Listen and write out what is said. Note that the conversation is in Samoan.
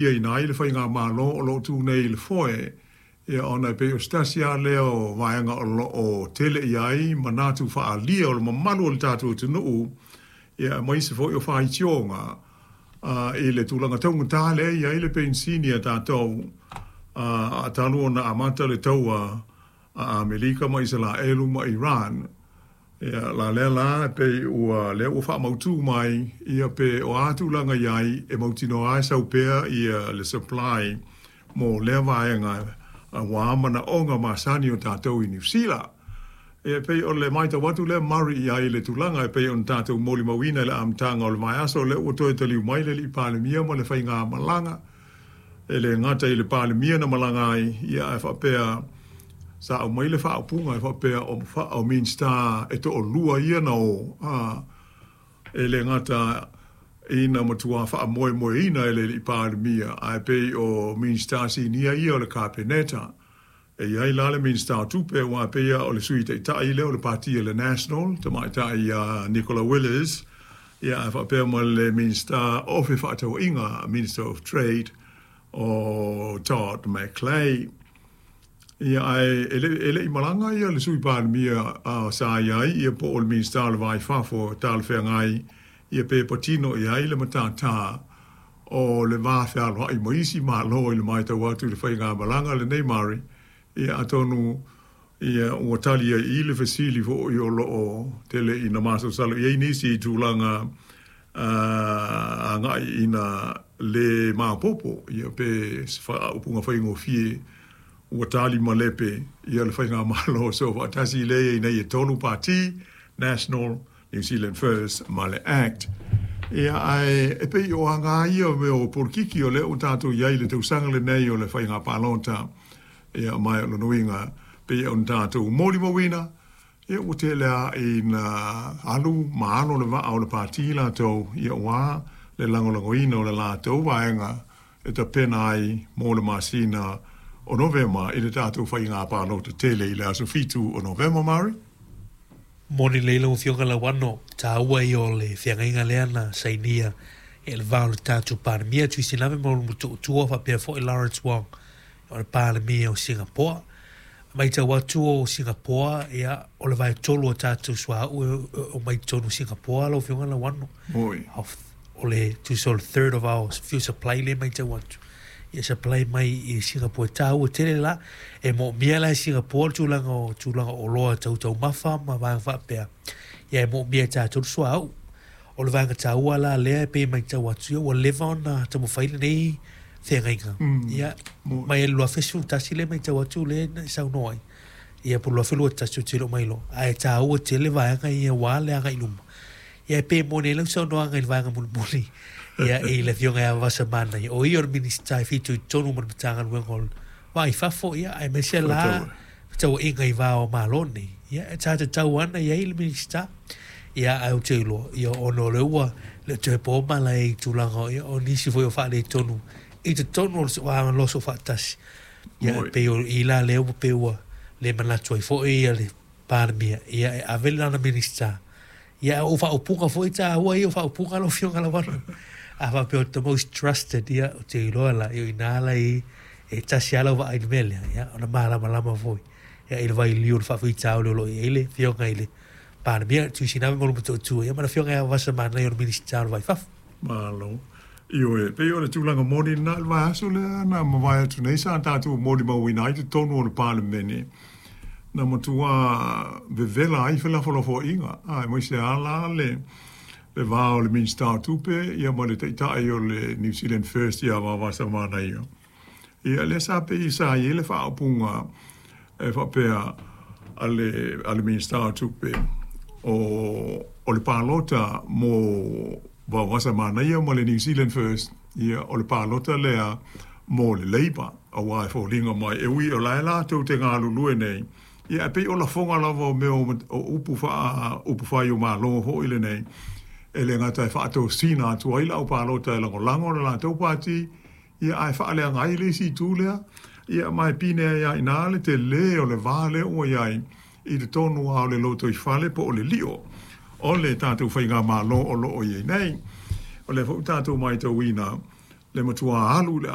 Ina ai le faigamalo o lo o tu nei i le foe, ia ona e pei o se tasi lava lea o vaega o lo o tele i ai manatu faaalia o le mamalu o le tatou atunuu, ia aemaise foi o faitioga i le tulaga taugata lea e i ai le penisini a tatou a talu ona amata le taua a Amerika ma Isaraelu ma Iran. Ia, la lea la, e pei ua, lea ua faamautu mai, ia pe o a tulaga i ai e mautinoa ai sau pea ia le supply mo lea vaega aua manaoga masani o tatou i Niu Sila. Ia, e pei o le matau atu lea Murray i ai i le tulaga e pei ona tatou molimauina i le amataga o le vaiaso lea ua toe taliu mai le Alii Palemia ma le faigamalaga. E le gata i le Palemia na malaga ai, ia ae faapea sa aumai le faaupuga e faapea o Minisita e toalua ia na o, a, e le gata ina matua faamoemoeina e le Alii Palemia, ae pei o Minisita sinia ia o le Kapeneta. E i ai la le Minisita o Tupe, aua e pei lava o le Sui Taitai lea o le Pati a le National, tamaitai ia Nicola Willis, ia ae faapea ma le Minisita o Fefaatauaiga, Minister of Trade, o Todd McClay. Ia ae e le, e le i malaga ia le Sui Palemia a sa i ai ia po o le Minisita o le Va i Fafo talafeagai ia pe patino i ai le matata o le va fealoai ma isi Malo i le matau atu i le faigamalaga lenei Murray, ia atonu ia ua tali ai i i le fesili foi o lo o tele ina masalosalo i ai nisi i tulaga agai ina le maopoopo ia pe se faaupuga faigofie ua tali malepe ia le faigamalo soofaatasi lea e i ai nei e tolu pati, National, New Zealand First ma le Act. Ia, ae e pei o aga ia o mea o polokiki o lea ua tatou i ai i le tausaga lenei o le faiga palota. Ia, ma o lona uiga, pei ona tatou molimauina, ia ua tele lava ina alu ma alo le vaa o le pati latou, ia aua le lagolagoina o le latou vaega e tapena ai mo le masina o Novema i le tatou faiga palota tele i le aso 7 o Novema. Murray? Moni lelei lau Afioga Lauano, taua ia o le feagaiga lea na sainia e le va o le tatou Palemia Tuisilame ma lona Motootua faapea foi Lawrence Wong o le Palemia o Singapoa. Matau atu o Singapoa, ia, o le vaetolu o tatou suauu e omai i totonu o Singapoa lau Afioga Lauano. Oi. O le tusa o le third of our fuel supply lea e matau atu. Ia supply mai i Singapore e taua tele la. E moomia la e Singapore le tulaga o tulaga o oloa tau taumafa ma vaega faapea. Ia e moomia e tatou le suauu. O le vaega taua la lea e pei e matau atu, ia ua leva ona taumafai lenei feagaiga. Ia mai le 2011 lea e matau atu lea na e saunoa ai. Ia po o le 2021 ou te le o mailoa. Ae taua tele vaega ia aua le agai i luma. Ia e pei e moni ai lau saunoaga i le vaega mulimuli, ia i le Afioga ia Vasa Manaia, o ia o le Minisita e fitoitonu ma le Matagaluega o le Va i Fafo, ia aemaise la fetrauaiga i va o Malo nei. Ia e sa tatau ana i ai le Minisita. Ia ae ou te iloa, ia ona o lea ua le o toe po mala i tulaga o, ia, o nisi foi o faaletonu i totonu o le Malo Soofaatasi. Ia e pei o i la lea ua pei ua le manatu ai foi ia le Palemia, ia e ave lana Minisita. Ia o faaupuga foi taua ia o faaupuga lau Afioga Lauano. A faapea o the most trusted, ia ou te iloa la, ia o ina la i e tasi lava lau vaai i le mea lea, ia ona malamalama foi ia i le vailiu o le faafitauli o lo o i ai le Afioga i le Palemia, Tuisiname ma Motootua, ia ma le Afioga ia Vasa Manaia o le Minisita o le Va i Fafo. Malo. Ioe, pei o le tulaga moni lena i le vaiaso lea na mavae atu nei sa tatou molimauina ai totonu o le Palemene, na matua vevela ai felafolafoaiga, aemaise lava la le le va o le Minisita o Tupe ia ma le Taitai o le New Zealand First ia Vavasa Manaia. Ia lea sa pei sa i ai le faaupuga e faapea a le a le Minisita o Tupe o o le palota mo Vaovasa Manaia ma le New Zealand First, ia o le palota lea mo le Labour, aua e foliga mai e ui o la e latou te galulue nei, ia ae pei o lafoga lava o mea o upu faa upu fai o Malo foi lenei, e le gata e faatosina atu ai le au palota e lagolago le latou pati, Ia, ae faaleaga ai le isi itu lea, ia, ma e pine ai lava i ina le tele o le va lea ua i ai i totonu lava o le lotoifale po o le lio o le tatou faigamalo o lo o i ai nei. O lea foi ua tatou matauina, Le matuā alu i le